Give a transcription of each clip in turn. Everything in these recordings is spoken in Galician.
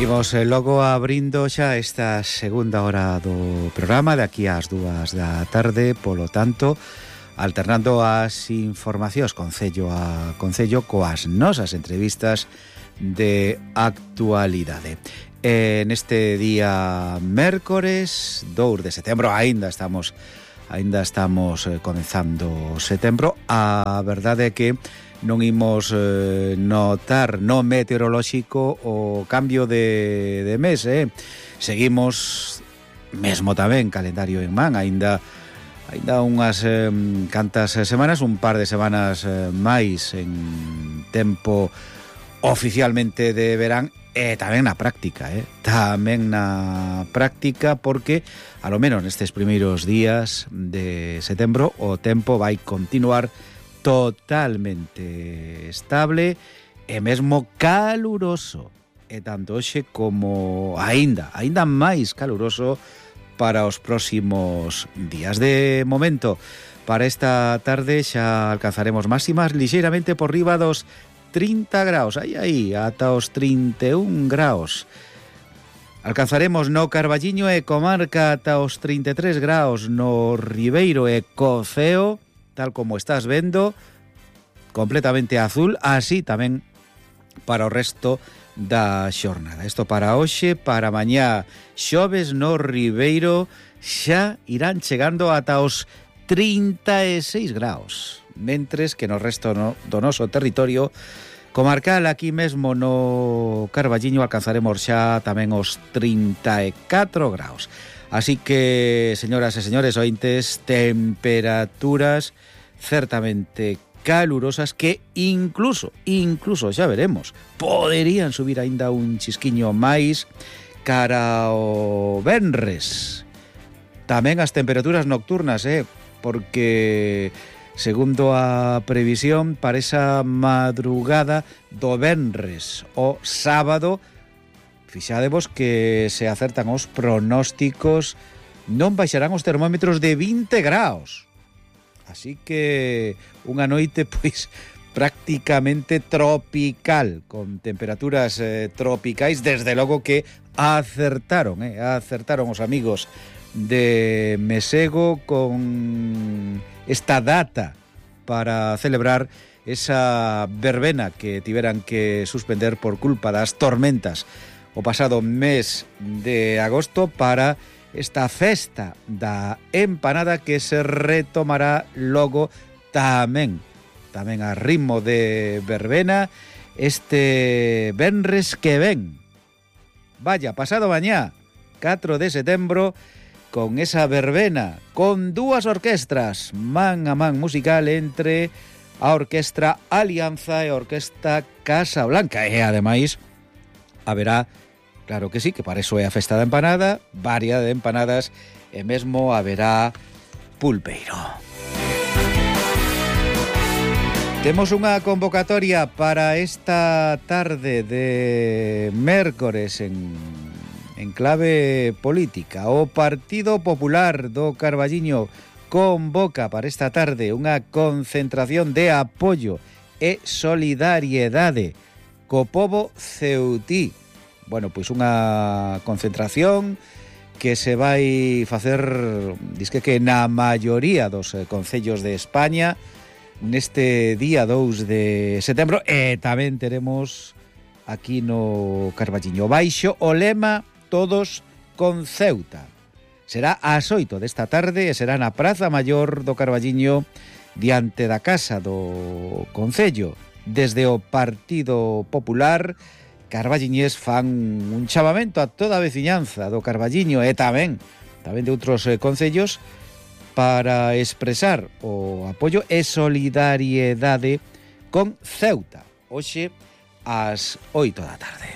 Imos logo abrindo xa esta segunda hora do programa de aquí ás 2 da tarde, polo tanto, alternando as informacións concello a concello coas nosas entrevistas de actualidade. Neste día mércores 2 de setembro, aínda estamos comenzando setembro. A verdade é que non imos notar no meteorolóxico o cambio de mes, Seguimos mesmo tamén calendario en man, aínda unhas cantas semanas, un par de semanas máis en tempo oficialmente de verán, e tamén na práctica, porque a lo menos nestes primeiros días de setembro o tempo vai continuar totalmente estable e mesmo caluroso, e tanto hoxe como aínda máis caluroso para os próximos días. De momento, para esta tarde xa alcanzaremos máximas lixeiramente por riba dos 30 graus, aí, ata os 31 graus. Alcanzaremos no Carballiño e comarca ata os 33 graus, no Ribeiro e Coceo, tal como estás vendo, completamente azul, así tamén para o resto da xornada. Isto para hoxe, para mañá, xoves no Ribeiro, xa irán chegando ata os 36 graus, mentres que no resto do noso territorio comarcal, aquí mesmo no Carballiño, alcanzaremos xa tamén os 34 graus. Así que, señoras e señores ointes, temperaturas certamente calurosas que incluso xa veremos, poderían subir aínda un chisquiño máis cara ao venres. Tamén as temperaturas nocturnas, porque segundo a previsión para esa madrugada do venres o sábado, fixadevos que se acertan os pronósticos, non baixarán os termómetros de 20 graus. Así que unha noite pois prácticamente tropical, con temperaturas tropicais. Desde logo que acertaron os amigos de Mesego con esta data para celebrar esa verbena que tiveran que suspender por culpa das tormentas o pasado mes de agosto, para esta festa da empanada que se retomará logo tamén a ritmo de verbena este venres que ven. Vaya, pasado mañá, 4 de setembro, con esa verbena, con dúas orquestras, man a man musical entre a Orquestra Alianza e a Orquestra Casa Blanca. E ademais haberá, claro que sí, que para eso é a festa da empanada, variedade de empanadas, e mesmo haberá pulpeiro. Temos unha convocatoria para esta tarde de mércores en clave política. O Partido Popular do Carballiño convoca para esta tarde unha concentración de apoio e solidariedade co pobo ceutí. Bueno, pois unha concentración que se vai facer, disque que na maioría dos concellos de España neste día 2 de setembro, e tamén teremos aquí no Carballiño baixo o lema Todos con Ceuta. Será ás 8 desta tarde e será na Praza Maior do Carballiño, diante da Casa do Concello. Desde o Partido Popular carballiñés fan un chamamento a toda a veciñanza do Carballiño e tamén de outros concellos para expresar o apoio e solidariedade con Ceuta, hoxe ás 8 da tarde.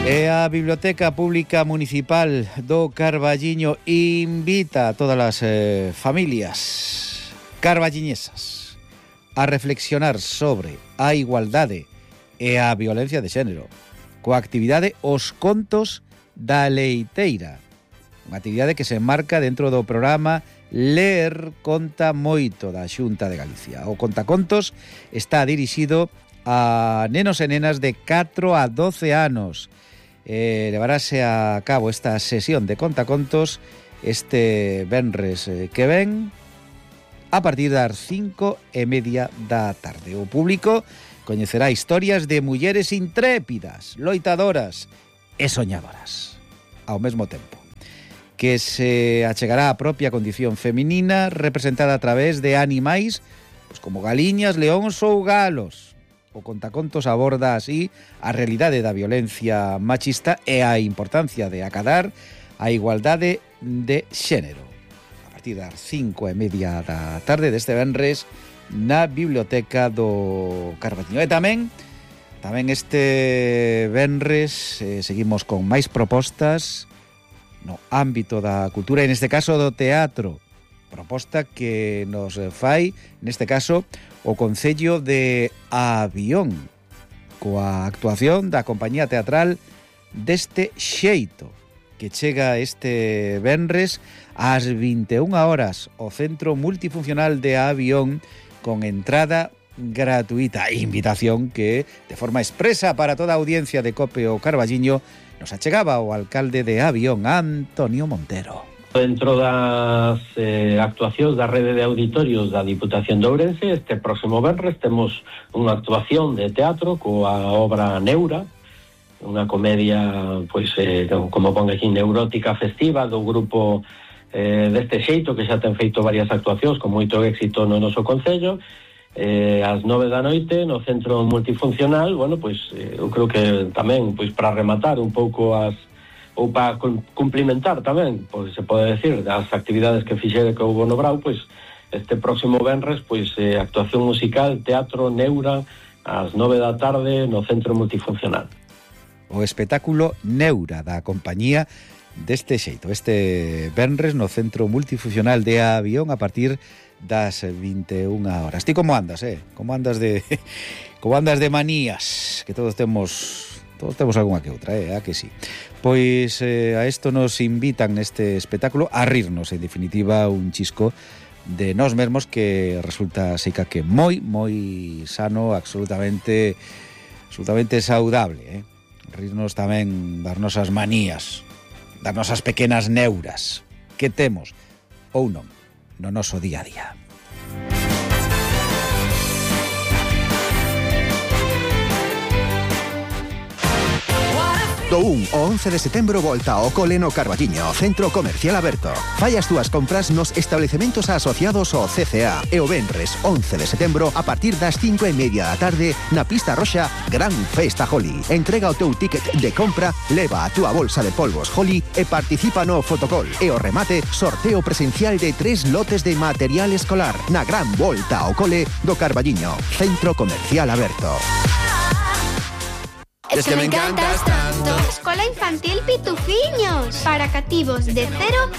E a Biblioteca Pública Municipal do Carballiño invita a todas as familias carballiñesas a reflexionar sobre a igualdade e a violencia de xénero coa actividade Os Contos da Leiteira, unha actividade que se enmarca dentro do programa ler conta moito da Xunta de Galicia. O contacontos está dirixido a nenos e nenas de 4 a 12 anos. Levarase a cabo esta sesión de contacontos este venres que ven a partir das 5:30 da tarde. O público coñecerá historias de mulleres intrépidas, loitadoras e soñadoras ao mesmo tempo, que se achegará a propia condición feminina representada a través de animais pues como galiñas, leóns ou galos. O contacontos aborda así a realidade da violencia machista e a importancia de acadar a igualdade de xénero. A partir das 5:30 da tarde deste venres na Biblioteca do Carballiño. E tamén este venres seguimos con máis propostas no ámbito da cultura e neste caso do teatro. Proposta que nos fai, neste caso, o Concello de Avión, coa actuación da compañía teatral Deste Xeito, que chega este venres ás 21 horas ao Centro Multifuncional de Avión con entrada gratuita. Invitación que, de forma expresa para toda a audiencia de COPE o Carballiño, nos achegaba o alcalde de Avión, Antonio Montero. Dentro das actuacións da rede de auditorios da Diputación de Ourense, este próximo venres temos unha actuación de teatro coa obra Neura, unha comedia, pois, como pon aquí, neurótica festiva do grupo Deste Xeito, que xa ten feito varias actuacións con moito éxito no noso concello, ás 9 da noite no Centro Multifuncional. Bueno, pois eu creo que tamén, pois, para rematar un pouco ou para cumplimentar tamén, pois se pode decir, das actividades que fixere que houve no Brau, pois este próximo venres, pois actuación musical, teatro Neura, ás 9 da tarde no Centro Multifuncional. O espectáculo Neura da compañía Deste Xeito, este venres no Centro Multifuncional de Avión a partir das 21 horas. Ti como andas, Como andas de manías, que todos temos algunha que outra, a que sí. Pois a isto nos invitan neste espectáculo a rirnos, en definitiva, un chisco de nós mesmos que resulta seica que moi sano, absolutamente saudable, rirnos tamén das nosas manías, das nosas pequenas neuras que temos ou non no noso día a día. Do 1 ao 11 de setembro volta ao cole no Carballiño, Centro Comercial Aberto. Fai as túas compras nos establecementos asociados ao CCA e o venres 11 de setembro a partir das 5:30 da tarde na pista roxa Gran Festa Holly. Entrega o teu ticket de compra, leva a túa bolsa de polvos Holly e participa no fotocall. E o remate, sorteo presencial de 3 lotes de material escolar na gran volta ao cole do Carballiño, Centro Comercial Aberto. Es que me encantas tanto. Escola Infantil Pitufiños, para cativos de 0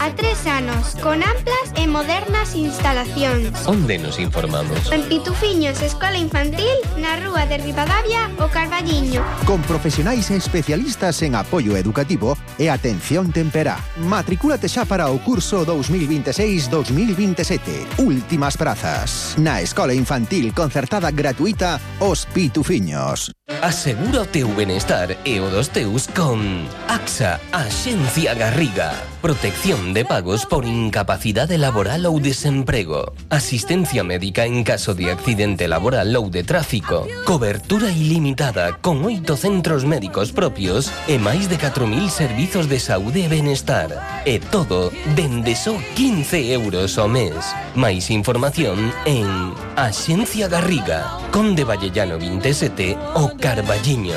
a 3 anos, con amplas e modernas instalacións. Onde nos informamos? En Pitufiños Escola Infantil, na rúa de Ribadavia, o Carballiño. Con profesionais e especialistas en apoio educativo e atención temperá. Matricúlate xa para o curso 2026-2027. Últimas prazas. Na Escola Infantil Concertada Gratuita, Os Pitufiños. Asegura o teu benestar e o dos teus con AXA, Axencia Garriga. Protección de pagos por incapacidade laboral ou desemprego. Asistencia médica en caso de accidente laboral ou de tráfico. Cobertura ilimitada con 8 centros médicos propios e máis de 4.000 servizos de saúde e benestar. E todo dende só 15 euros ao mes. Máis información en Axencia Garriga, Conde Vallellano 27, o Carballiño.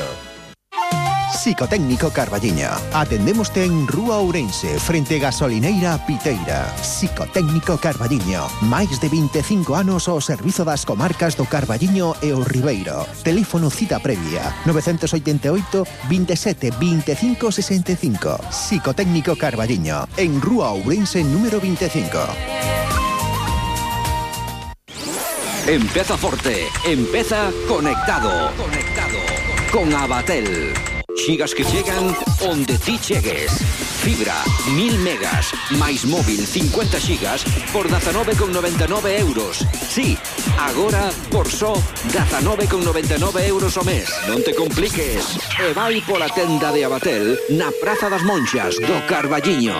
Psicotécnico Carballiño. Atendémoste en Rúa Ourense, frente Gasolineira Piteira. Psicotécnico Carballiño. Máis de 25 anos ao servizo das comarcas do Carballiño e o Ribeiro. Teléfono cita previa 988 27 25 65. Psicotécnico Carballiño, en Rúa Ourense número 25. Empeza forte, empeza conectado. Con Abatel. Xigas que chegan onde ti chegues. fibra, 1000 megas, máis móvil 50 xigas por 19,99 euros. Sí, agora por só 19,99 euros ao mes. Non te compliques. E vai pola tenda de Abatel na Praza das Monxas do Carballiño.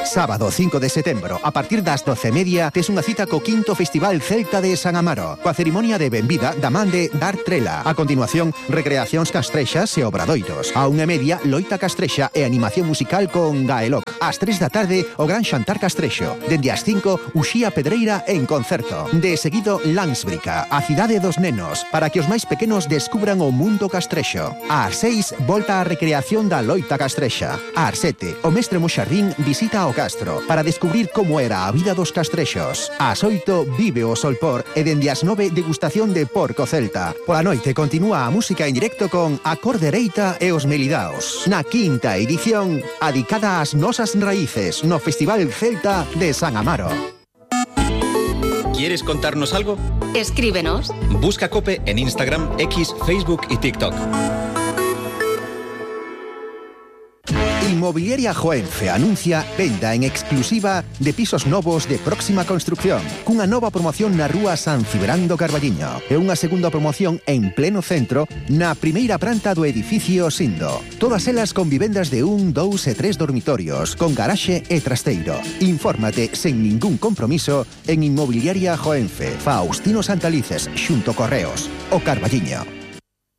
Sábado 5 de setembro, a partir das 12:30, tes unha cita co 5º Festival Celta de San Amaro, coa cerimonia de benvida da man de Dar Trela. A continuación, recreacións castrexas e obradoiros. A 1:30, loita castrexa e animación musical con Gaeloc. Ás 3 da tarde, o gran xantar castrexo. Dende as 5, Uxía Pedreira en concerto. De seguido, Landsbrica, a cidade dos nenos, para que os máis pequenos descubran o mundo castrexo. Ás 6, volta a recreación da loita castrexa. Ás 7, o mestre Moxardín visita o Castro para descubrir como era a vida dos castrexos. Ás 8, vive o Solpor e dende as 9, degustación de porco celta. Pola noite continúa a música en directo con A Cordereita e os Melidaos. Na 5ª edición, adicada ás nosas raíces no Festival Celta de San Amaro. ¿Quieres contarnos algo? Escríbenos. Busca COPE en Instagram, X, Facebook y TikTok. Inmobiliaria Joenfe anuncia venda en exclusiva de pisos novos de próxima construcción, cunha nova promoción na rúa San Cibrán do Carballiño e unha segunda promoción en pleno centro na primeira planta do edificio Sindo. Todas elas con vivendas de 1, 2 e 3 dormitorios, con garaxe e trasteiro. Infórmate sen ningún compromiso en Inmobiliaria Joenfe, Faustino Santalices, xunto Correos, o Carballiño.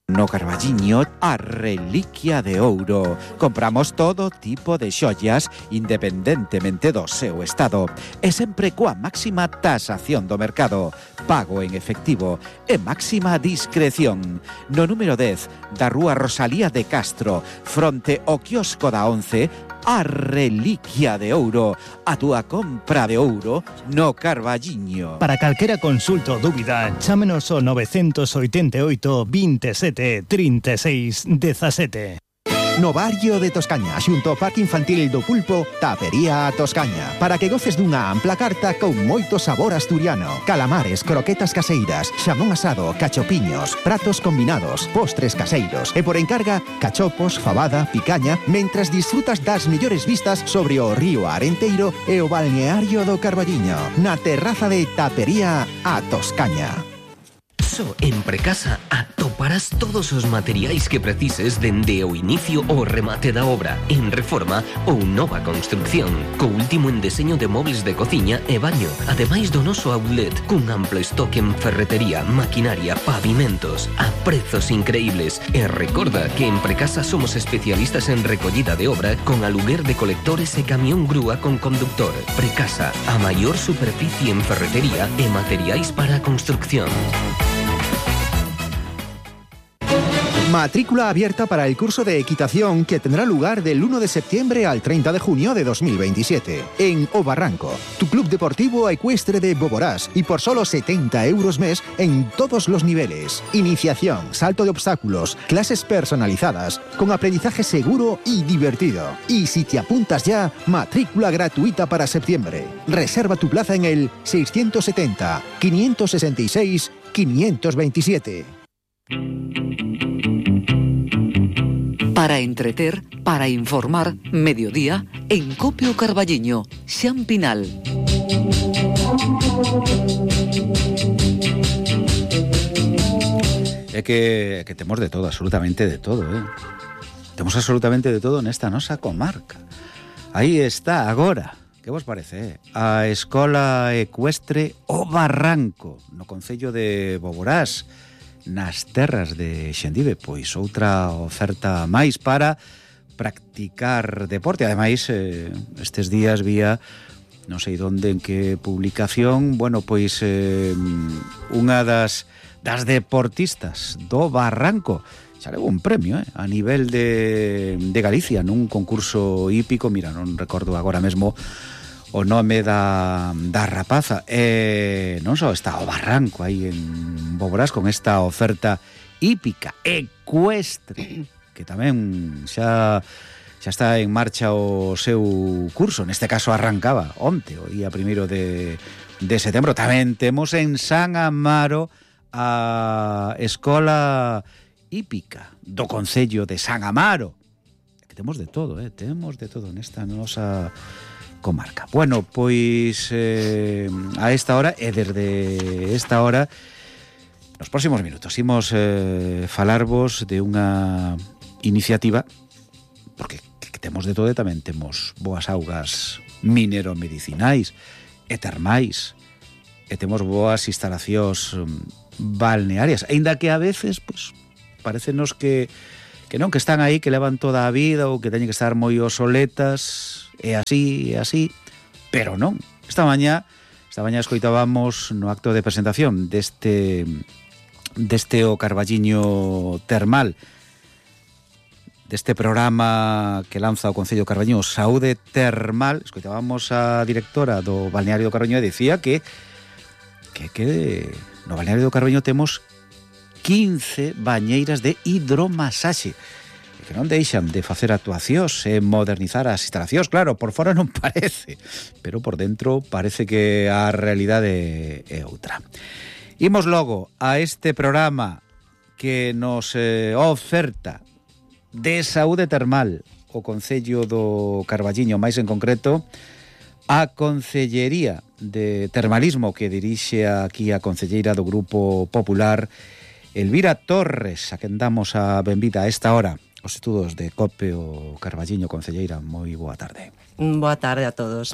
No Carballiño, a reliquia de ouro. Compramos todo tipo de xollas independentemente do seu estado e sempre coa máxima tasación do mercado, pago en efectivo e máxima discreción. No número 10 da rúa Rosalía de Castro, fronte ao quiosco da 11, a reliquia de ouro, a túa compra de ouro no Carballiño. Para calquera consulta ou dúbida, chámenos ao 988 27 36 17. No barrio de Toscaña, xunto ao Parque Infantil do Pulpo, Tapería a Toscaña, para que goces dunha ampla carta con moito sabor asturiano. Calamares, croquetas caseiras, xamón asado, cachopiños, pratos combinados, postres caseiros e por encarga, cachopos, fabada, picaña, mentras disfrutas das mellores vistas sobre o río Arenteiro e o balneario do Carballiño, na terraza de Tapería a Toscaña. Só en Precasa atoparás todos os materiais que precises dende o inicio ao remate da obra, en reforma ou nova construcción, co último en deseño de móveis de cociña e baño, ademais do noso outlet, cun amplo stock en ferretería, maquinaria, pavimentos, a prezos increíbles. E recorda que en Precasa somos especialistas en recollida de obra con aluguer de colectores e camión grúa con conductor. Precasa, a maior superficie en ferretería e materiais para a construcción. Matrícula abierta para el curso de equitación que tendrá lugar del 1 de septiembre al 30 de junio de 2027 en O Barranco, tu club deportivo ecuestre de Boborás, y por solo 70 euros mes en todos los niveles. Iniciación, salto de obstáculos, clases personalizadas, con aprendizaje seguro y divertido. Y si te apuntas ya, matrícula gratuita para septiembre. Reserva tu plaza en el 670 566 527. Para entreter, para informar, mediodía, en Copio Carballiño, Xan Pinal. É que temos de todo, absolutamente de todo, Temos absolutamente de todo nesta nosa comarca. Aí está, agora, que vos parece, a Escola Ecuestre O Barranco, no concello de Boborás, nas terras de Xendive, pois outra oferta máis para practicar deporte. Ademais, estes días vía, non sei onde, en que publicación, bueno, pois unha das deportistas do Barranco xa levou un premio a nivel de Galicia nun concurso hípico. Mira, non recordo agora mesmo o nome da rapaza. Non só está o Barranco aí en Boborás con esta oferta hípica ecuestre, que tamén xa está en marcha o seu curso. Neste caso arrancaba onte, o día 1 de setembro. Tamén temos en San Amaro a Escola Hípica do Concello de San Amaro, que temos de todo, temos de todo nesta nosa comarca. Bueno, pois a esta hora e desde esta hora nos próximos minutos imos falarvos de unha iniciativa, porque que temos de todo e tamén temos boas augas minero-medicinais e termais, e temos boas instalacións balnearias, aínda que a veces pois, parecenos que non, que están aí, que levan toda a vida ou que teñen que estar moi obsoletas, e así, pero non. Esta mañá escoitábamos no acto de presentación deste o Carballiño Termal, deste programa que lanza o Concello Carballiño, Saúde Termal. Escoitábamos a directora do Balneario do Carballiño e dicía que no Balneario do Carballiño temos 15 bañeiras de hidromasaxe que non deixan de facer actuacións e modernizar as instalacións. Claro, por fora non parece, pero por dentro parece que a realidade é outra. Imos logo a este programa que nos oferta de saúde termal o Concello do Carballiño, máis en concreto a Concellería de Termalismo que dirixe aquí a concelleira do Grupo Popular, Elvira Torres, a quen damos a benvida a esta hora os estudos de COPE o Carballiño. Concelleira, moi boa tarde. Boa tarde a todos.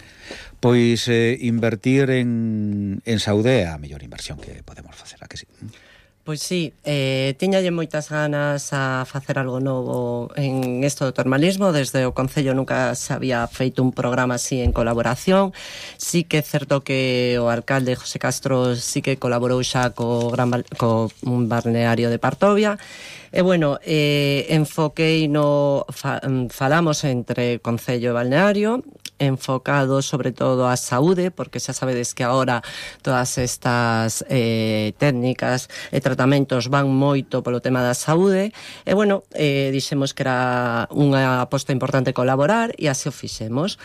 Pois invertir en saúde é a mellor inversión que podemos facer, a que sí? Pois sí, tiñalle moitas ganas a facer algo novo en isto do termalismo. Desde o Concello nunca se había feito un programa así en colaboración. Sí que é certo que o alcalde José Castro sí que colaborou xa co un balneario de Partovia. E bueno, enfoquei falamos entre Concello e Balneario, enfocado sobre todo a saúde, porque xa sabedes que agora todas estas técnicas e tratamentos van moito polo tema da saúde. E bueno, dixemos que era unha aposta importante colaborar e así o fixemos.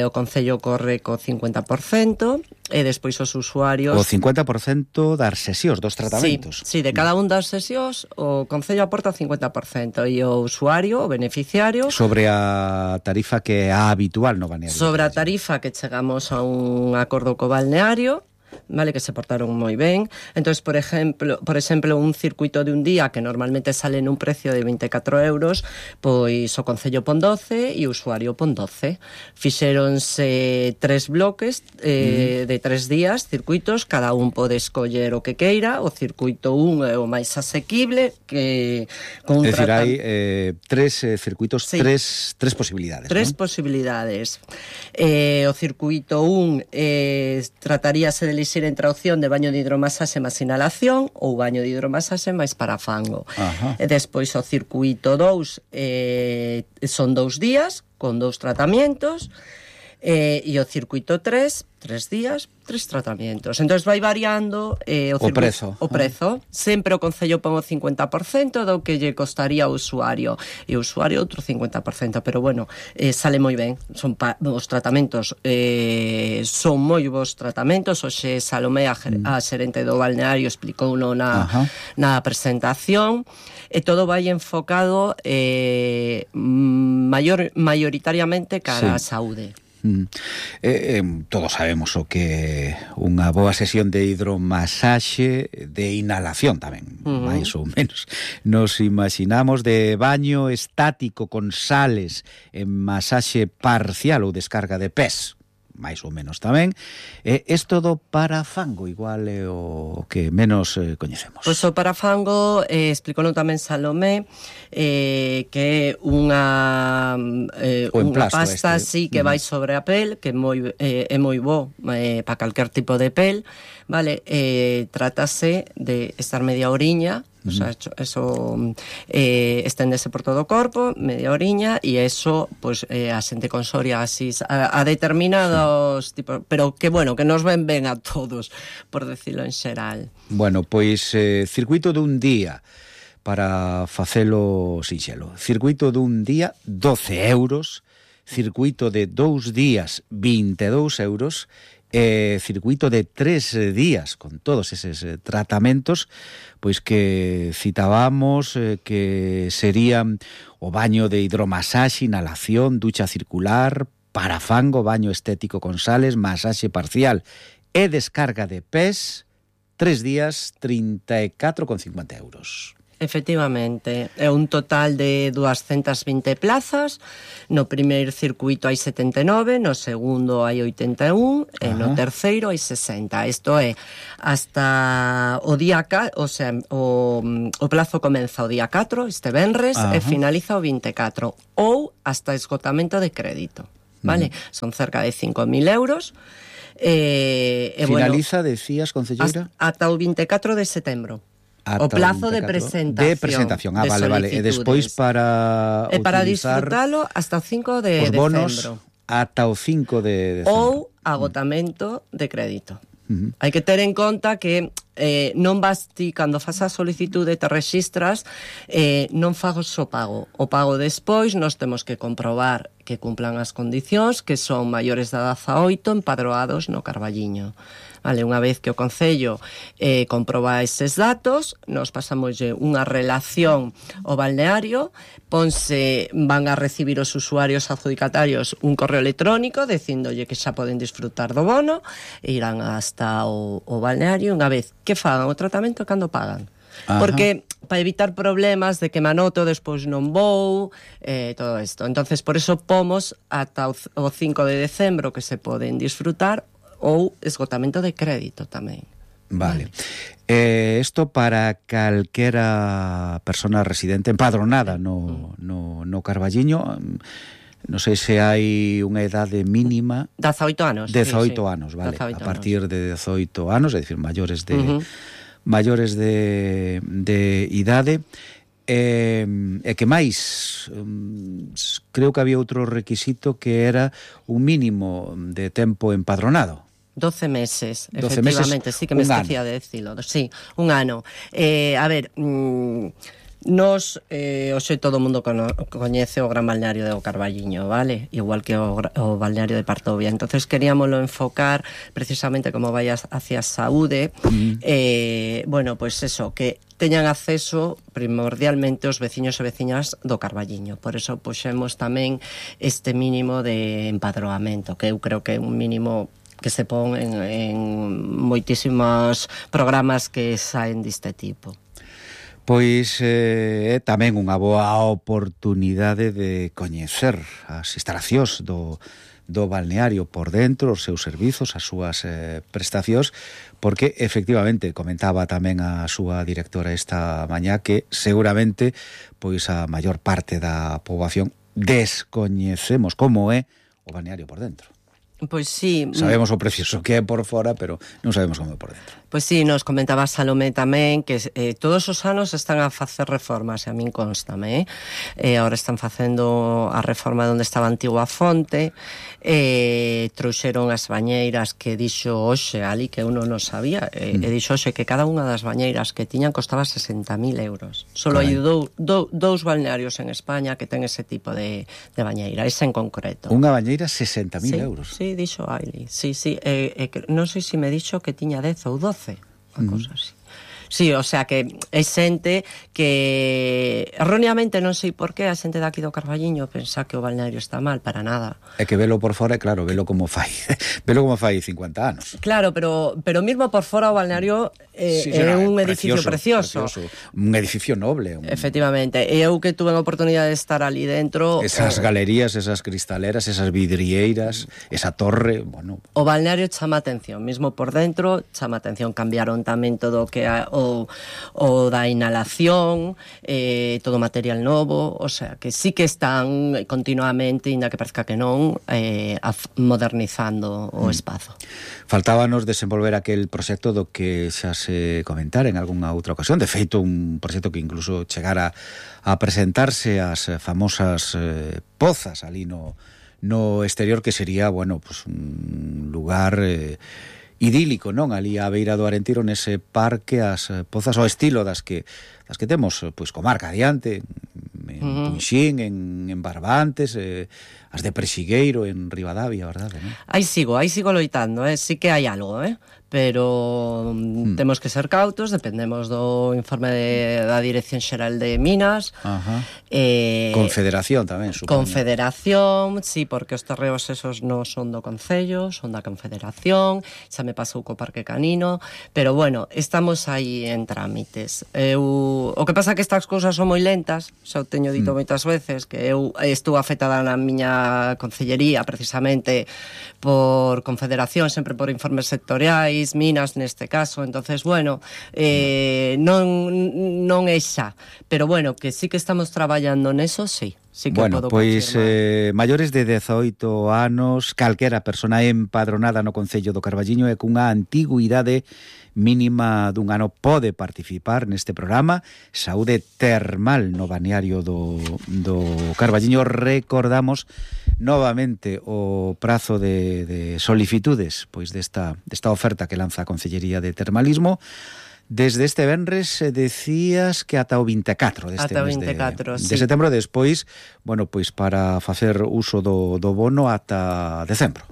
O Concello corre co 50%, e despois os usuarios... O 50% das sesións, dos tratamentos. Sí, de cada un das sesións o Concello aporta o 50% e o usuario, o beneficiario... Sobre a tarifa que é a habitual no balneario. Sobre a tarifa que chegamos a un acordo co balneario, vale, que se portaron moi ben. Entonces, por exemplo, un circuito de un día que normalmente sale nun precio de 24 euros, pois o Concello pon 12 e o usuario pon 12. Fixéronse 3 bloques de 3 días, circuitos, cada un pode escoller o que queira. O circuito 1 é o máis asequible, que con un hai 3 circuitos, sí. tres posibilidades. 3 posibilidades. O circuito 1 trataríase de elixir entre a opción de baño de hidromasaxe máis inhalación ou baño de hidromasaxe máis parafango. E despois o circuito 2 son 2 días con 2 tratamentos, e o circuito 3 días, 3 tratamentos. Entón vai variando o prezo. Sempre o Concello pon o 50% do que lle costaría ao usuario, e o usuario outro 50%, pero bueno, sale moi ben. Os tratamentos son moi bons tratamentos. Oxe Salomé, a xerente do balneario, explicou na presentación, e todo vai enfocado maioritariamente cara á saúde. Todos sabemos o que unha boa sesión de hidromasaxe, de inhalación tamén, máis ou menos. Nos imaginamos de baño estático con sales, en masaxe parcial ou descarga de pés, máis ou menos tamén. Isto do parafango igual é o que menos coñecemos. Pois o parafango, explicou tamén Salomé, que é unha pasta así que vai sobre a pel, que é moi bo para calquer tipo de pel, vale? Trátase de estar media horiña, o sea, eso esténdese por todo o corpo, media oriña, e eso, pues, a xente con psoriasis, a determinados tipos, pero que, bueno, que nos ven ben a todos, por decirlo en xeral. Bueno, pois, circuito dun día, para facelo sinxelo. Circuito dun día, 12 euros, circuito de 2 días, 22 euros, circuito de 3 días con todos eses tratamentos, pois que citábamos que serían o baño de hidromasaxe, inhalación, ducha circular, parafango, baño estético con sales, masaxe parcial e descarga de pés, 3 días, 34,50 euros. Efectivamente, é un total de 220 plazas. No primeiro circuito hai 79, no segundo hai 81 e no terceiro hai 60. Isto é, hasta o día o sea, o plazo comeza o día 4, este venres, e finaliza o 24, ou hasta esgotamento de crédito, vale? Son cerca de 5.000 euros. Finaliza, bueno, decías, concelleira? Ata o 24 de setembro. O plazo de presentación. De presentación, vale. E despois para disfrutalo hasta o 5 de decembro. Ata o 5 de decembro. Ou agotamento de crédito. Hai que ter en conta que non vas ti, cando faz a solicitude te registras, non fagas o pago. O pago despois nos temos que comprobar que cumplan as condicións, que son maiores de 18 empadroados no Carballiño. Vale, unha vez que o Concello comproba eses datos, nos pasamoslle unha relación ao balneario, van a recibir os usuarios adjudicatarios un correo electrónico dicíndolle que xa poden disfrutar do bono e irán hasta o balneario. Unha vez que fagan o tratamento, cando pagan. Porque para evitar problemas de que manoto despois non vou, todo isto. Entonces, por eso pomos ata o 5 de decembro que se poden disfrutar, ou esgotamento de crédito tamén. Vale. Isto para calquera persona residente empadronada no Carballiño. Non sei se hai unha idade mínima. 18 anos. 18 anos, vale. 18 a partir de 18 anos, é dicir, maiores de idade. E que máis, creo que había outro requisito que era un mínimo de tempo empadronado. 12 meses, efectivamente, sí que me esquecía de decirlo. Sí, un ano. A ver, nos, hoxe todo o mundo coñece o gran balneario do Carballiño, vale? Igual que o balneario de Partovia. Entonces queríamoslo enfocar precisamente como vai hacia a saúde. Bueno, pues eso, que teñan acceso primordialmente os veciños e veciñas do Carballiño. Por eso puxemos tamén este mínimo de empadroamento, que eu creo que é un mínimo que se pon en moitísimos programas que saen deste tipo. Pois é tamén unha boa oportunidade de coñecer as instalacións do balneario por dentro, os seus servizos, as súas prestacións, porque efectivamente comentaba tamén a súa directora esta mañá que seguramente pois a maior parte da poboación descoñecemos como é o balneario por dentro. Pois sí. Sabemos o precioso que é por fora, pero non sabemos como é por dentro. Pois sí, nos comentaba Salomé tamén que todos os anos están a facer reformas, e a min constame, agora están facendo a reforma onde estaba a antigua fonte, trouxeron as bañeiras que dixo hoxe ali, que eu non sabía, e dixo hoxe que cada unha das bañeiras que tiñan costaba 60.000 euros. Solo hai dous balnearios en España que ten ese tipo de bañeira, ese en concreto. Unha bañeira 60.000 euros? Sí, dixo Aili, sí, non sei se me dixo que tiña 10 ou 12, unha cousa así. Sí, o sea que é xente que erróneamente, non sei por qué, a xente daqui do Carballiño pensa que o balneario está mal, para nada. É que velo por fora, claro, velo como fai 50 anos. Claro, pero mismo por fora o balneario é un edificio precioso. Un edificio noble. Efectivamente, e eu que tuve a oportunidade de estar ali dentro... Esas galerías, esas cristaleras, esas vidrieiras, esa torre, bueno... O balneario chama atención, mismo por dentro chama atención. Cambiaron tamén todo o que o da inhalación, todo material novo, o sea, que sí que están continuamente, ainda que parezca que non, modernizando o espazo. Faltábanos desenvolver aquel proxecto do que xa se comentara en algunha outra ocasión, de feito un proxecto que incluso chegara a presentarse as famosas pozas ali no exterior, que sería, bueno, pues un lugar idílico, non? Ali á beira do Arentiro, nese parque, as pozas ao estilo das que temos, pois, comarca adiante, Punxín, en Barbantes, as de Prexigueiro, en Ribadavia, verdade, non? Aí sigo loitando, sí que hai algo, pero temos que ser cautos, dependemos do informe da Dirección Xeral de Minas. Confederación tamén, supoño. Confederación, sí, porque os terreos esos non son do Concello, son da Confederación, xa me pasou co Parque Canino, pero bueno, estamos aí en trámites. O que pasa é que estas cousas son moi lentas, xa o teño dito moitas veces, que eu estou afectada na miña concellería precisamente por Confederación, sempre por informes sectoriais, Minas neste caso, entonces bueno, non é xa, pero bueno, que sí que estamos traballando neso, sí. Sí que bueno, pois maiores de 18 anos, calquera persona empadronada no Concello do Carballiño e cunha antigüidade mínima dun ano pode participar neste programa Saúde Termal no balneario do Carballiño. Recordamos novamente o prazo de solicitudes pois desta oferta que lanza a Concellería de Termalismo. Desde este venres decías que ata o 24 deste mes de setembro, despois, bueno, pois para facer uso do bono ata decembro.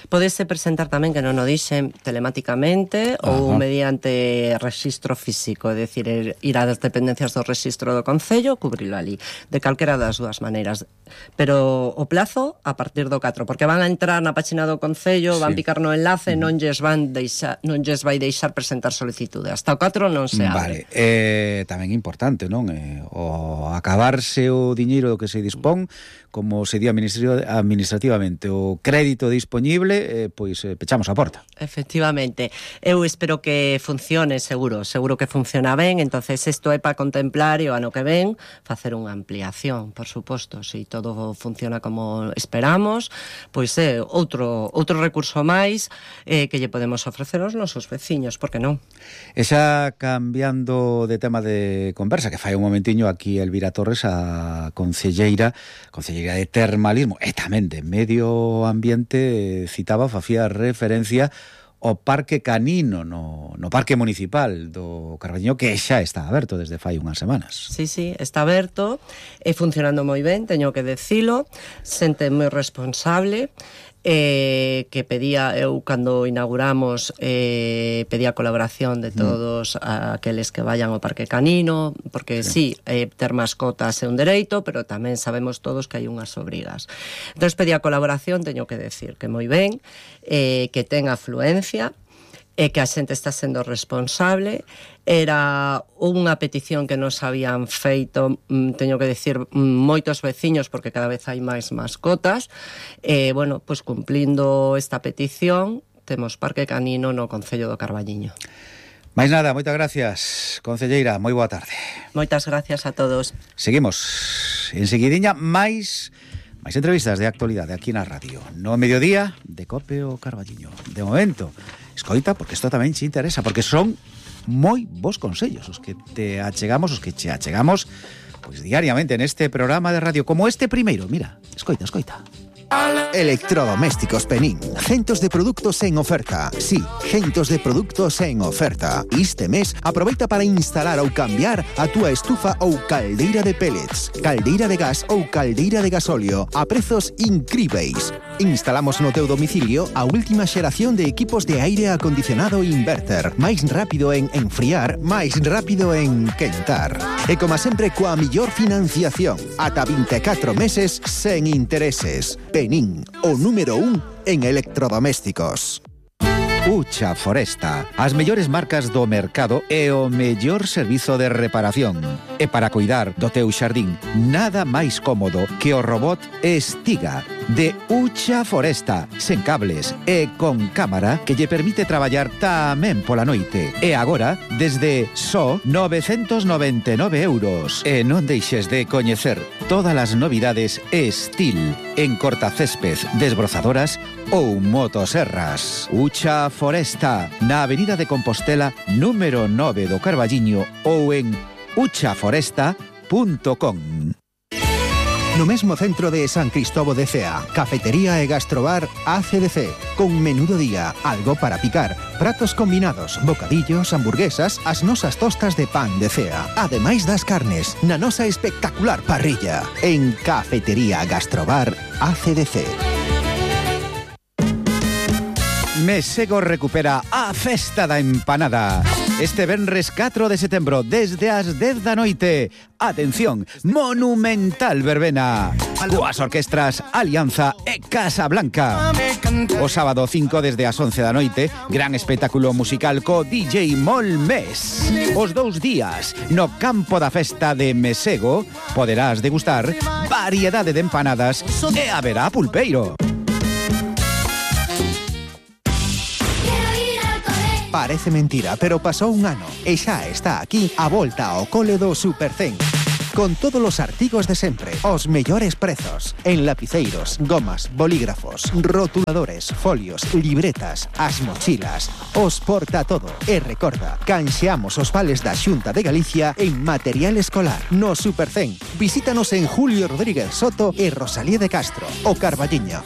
Podese presentar tamén, que non o dixen, telemáticamente ou mediante registro físico, é dicir, ir ás dependencias do registro do Concello, cubrilo ali, de calquera das dúas maneiras. Pero o plazo a partir do 4, porque van a entrar na página do Concello, van picar no enlace, non lles vai deixar presentar solicitude. Hasta o 4 non se abre. Vale, tamén importante, non? O acabarse o diñeiro que se dispón, como se di administrativamente o crédito disponible, pois pechamos a porta. Efectivamente. Eu espero que funcione, seguro que funciona ben, entonces isto é para contemplar e o ano que ven facer unha ampliación, por suposto. Se todo funciona como esperamos, pois é outro recurso máis que lle podemos ofrecer aos nosos veciños, por que non? E xa cambiando de tema de conversa, que fai un momentiño aquí Elvira Torres, a concelleira de Termalismo e tamén de Medio Ambiente, facía referencia ao Parque Canino no Parque Municipal do Carballiño, que xa está aberto desde fai unhas semanas. Sí, está aberto e funcionando moi ben, teño que decilo, xente moi responsable, que pedía, eu cando inauguramos pedía colaboración de todos aqueles que vayan ao Parque Canino, porque sí, ter mascotas é un dereito, pero tamén sabemos todos que hai unhas obrigas. Entón pedía colaboración, teño que decir que moi ben, que ten afluencia, que a xente está sendo responsable. Era unha petición que nos habían feito, teño que decir, moitos veciños, porque cada vez hai máis mascotas. Bueno, pois cumplindo esta petición, temos Parque Canino no Concello do Carballiño. Máis nada, moitas gracias, concelleira, moi boa tarde. Moitas gracias a todos. Seguimos enseguidiña máis entrevistas de actualidade aquí na radio, no mediodía de Cope o Carballiño. De momento, escoita, porque isto tamén te interesa, porque son moi bons consellos os que te achegamos, os que che achegamos pois diariamente neste programa de radio, como este primeiro. Mira, escoita. Electrodomésticos Penín. Centos de produtos en oferta. Sí, centos de produtos en oferta. Este mes aproveita para instalar ou cambiar a túa estufa ou caldeira de pellets, caldeira de gas ou caldeira de gasóleo a prezos incríveis. Instalamos no teu domicilio a última xeración de equipos de aire acondicionado inverter. Máis rápido en enfriar, máis rápido en quentar. E como sempre, coa millor financiación. Ata 24 meses sen intereses. Penín, o número 1 en electrodomésticos. Ucha Foresta, as mellores marcas do mercado e o mellor servizo de reparación. E para cuidar do teu xardín, nada máis cómodo que o robot Estiga de Ucha Foresta, sen cables e con cámara que lle permite traballar tamén pola noite. E agora, desde só 999 euros. E non deixes de coñecer todas as novidades Estil en cortacésped, desbrozadoras ou motoserras. Ucha Foresta, na Avenida de Compostela, número 9 do Carballiño ou en uchaforesta.com. no mesmo centro de San Cristóbal de Cea. Cafetería e gastrobar ACDC, con menú do día, algo para picar, pratos combinados, bocadillos, hamburguesas, as nosas tostas de pan de Cea, ademais das carnes, na nosa espectacular parrilla, en Cafetería Gastrobar ACDC. Mesego recupera a Festa da Empanada. Este venres 4 de setembro, desde as 10 da noite. Atención, monumental verbena. Coas orquestras Alianza e Casa Blanca. O sábado 5 desde as 11 da noite, gran espectáculo musical co DJ Molmes. Os 2 días, no campo da festa de Mesego, poderás degustar variedade de empanadas e haberá pulpeiro. Parece mentira, pero pasou un ano e xa está aquí a volta ao cole do Supercen. Con todos os artigos de sempre, os mellores prezos, en lapiceiros, gomas, bolígrafos, rotuladores, folios, libretas, as mochilas, os porta todo. E recorda, canxeamos os vales da Xunta de Galicia en material escolar no Supercen. Visítanos en Julio Rodríguez Soto e Rosalía de Castro, o Carballiño.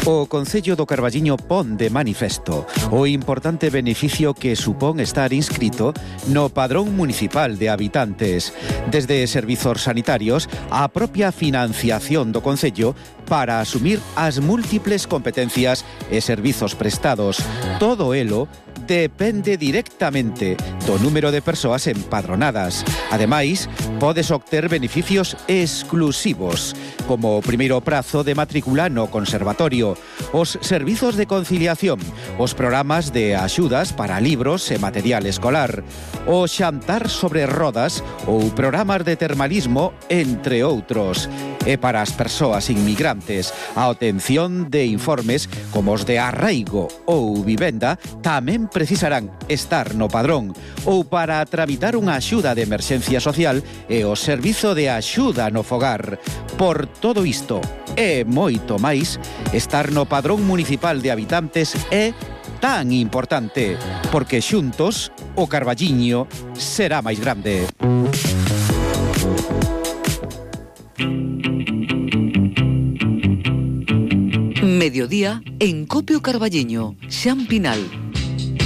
O Concello do Carballiño pon de manifesto o importante beneficio que supón estar inscrito no Padrón Municipal de Habitantes, desde servizos sanitarios á propia financiación do Concello para asumir as múltiples competencias e servizos prestados. Todo elo depende directamente do número de persoas empadronadas. Ademais, podes obter beneficios exclusivos, como o primeiro prazo de matrícula no conservatorio, os servizos de conciliación, os programas de axudas para libros e material escolar, o xantar sobre rodas ou programas de termalismo, entre outros. E para as persoas inmigrantes, a obtención de informes como os de arraigo ou vivenda tamén precisarán estar no padrón, ou para tramitar unha axuda de emerxencia social e o servizo de axuda no fogar. Por todo isto e moito máis, estar no Padrón Municipal de Habitantes é tan importante, porque xuntos o Carballiño será máis grande. Mediodía en Copio Carballiño, Xampinal.